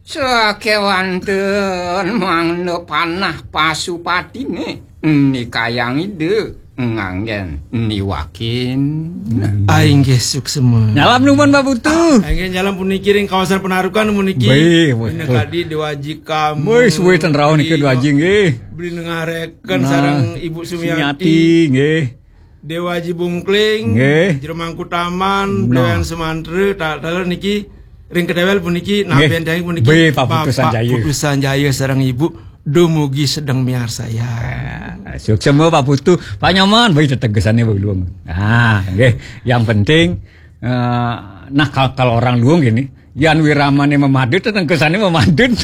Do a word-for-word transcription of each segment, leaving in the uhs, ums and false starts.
Sakéwanten mangda panah pasupatiné nikayang Ida nganggén niwakin. Ah, inggih suksema. Nyalam nuwun, Pak Putu. Inggih nyalam puniki ring kawasan Penarukan puniki. Baik, baik. Dina kadi Déwa Aji Kamu. Wih, suwé ten rauh nika Déwa Aji nggih. Beli nengareken sareng Ibu Sumiati. Sumiati nggih. Déwa Aji Bungkling, nggih. Jero Mangku Taman, Bléwéhan Semantra, ta-, taler niki ring ketéwél puniki, nggih. Naben tiang puniki Bapak Putu Sanjaya. Putu Sanjaya sareng Ibu dumugi sedeng miarsayang. Ah, suksema Pak Putu. Pak Nyoman, baik tetegesané Pak Luung. Ah, nggih. Yang penting, eh, nah, kal-, kalau orang Luung gini, yan wiramané mamadut, tetegesané mamadut.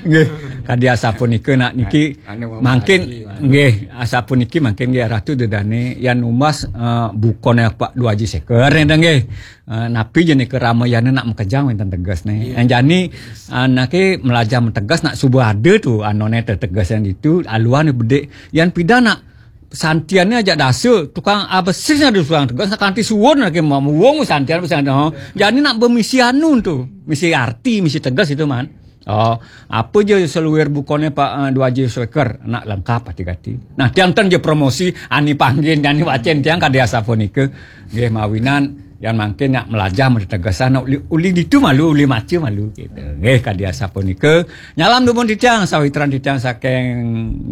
Nggih, kadi asapunika nak niki. Anu mangkin, mamaji, anu. Nggih, asapuniki mangkin nggih Ratu Dedane yan numbas, eh, bukané Pak Déwa Aji Séker nggih. Eh, napi ja nika ramayana nak makejang wénten tegesné. Iya. Yan jani, eh, anake melajah mateges nak suba ada tu anoné tetegesan ditu, aluan bedik. Yan pidan nak santiannya ajak dasa, tukang abesisnya ada tukang teges, nak kanti suwun lagi mau muwung santian pesan, oh. Jani nak bemisi anu tu, misi arti, misi teges itu, man. Oh, apa ja saluir bukané Pak, eh, Déwa Aji Séker, nak lengkap ati-ati. Nah, tiang ten ja promosi, ani panggih, ani wacén tiang kadi asapunika. Nggih, mawinan yan mangkin nak melajah mategesan, nak uli, uli ditu malu, uli maca malu gitu. Nggih, kadi asapunika. Nyalam dumun titiang, sawitran titiang saking,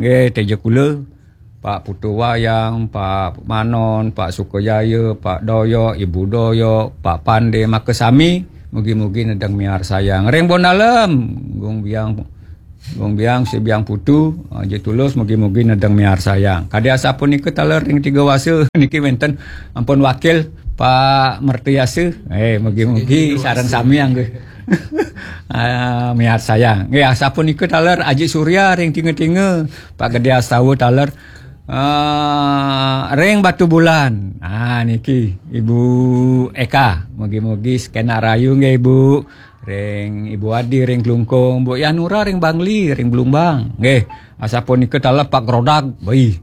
nggih, Téja Kula. Pak Putu Wayang, Pak Manon, Pak Sukajaya, Pak Doyok, Ibu Doyok, Pak Pande, makasami, mugi-mugi nedeng miarsayang. Ring Bondalem, Gung Biang, Gung Biang, Si Biang Putu, Aji Tulus, mugi-mugi nedeng miarsayang. Kadi asapunika taler ring Tiga Wasa, niki wénten ampun wakil Pak Mertayasa. Eh, mugi-mugi sareng sami nggih. Ah, miarsayang. Nggih, asapunika taler Aji Surya ring Tinga-tinga, Pak Gedé Astawa taler. Ah, ring Batubulan. Ah, niki Ibu Eka, mugi-mugi sekenak rahayu nggih, Ibu. Ring Ibu Adi ring Klungkung, Bu Yanura ring Bangli, ring Blumbang. Nggih, asapunika taler Pak Grodag, beli.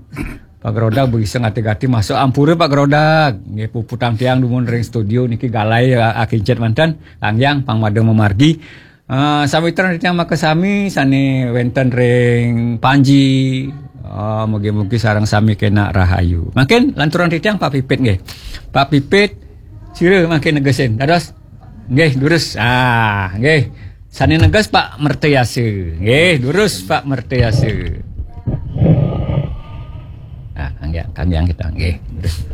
Pak Grodag beli sing ati-ati masuk ampura Pak Grodag. Nggih, puputang tiang dumun ring studio niki galai, ah, akincit manten, Kang Yang, pang mada mamargi. Eh, sawitran titiang makasami sané wénten ring Panji. Eh, mugi-mugi sareng sami kenak rahayu. Mangkin lanturang titiang Pak Pipit nggih. Pak Pipit, sira mangkin negesin. Dados nggih, durus. Ah, nggih. Sané neges Pak Mertayasa. Nggih, durus Pak Mertayasa. Ah, Kang Yang, Kang Yang kita nggih. Durus.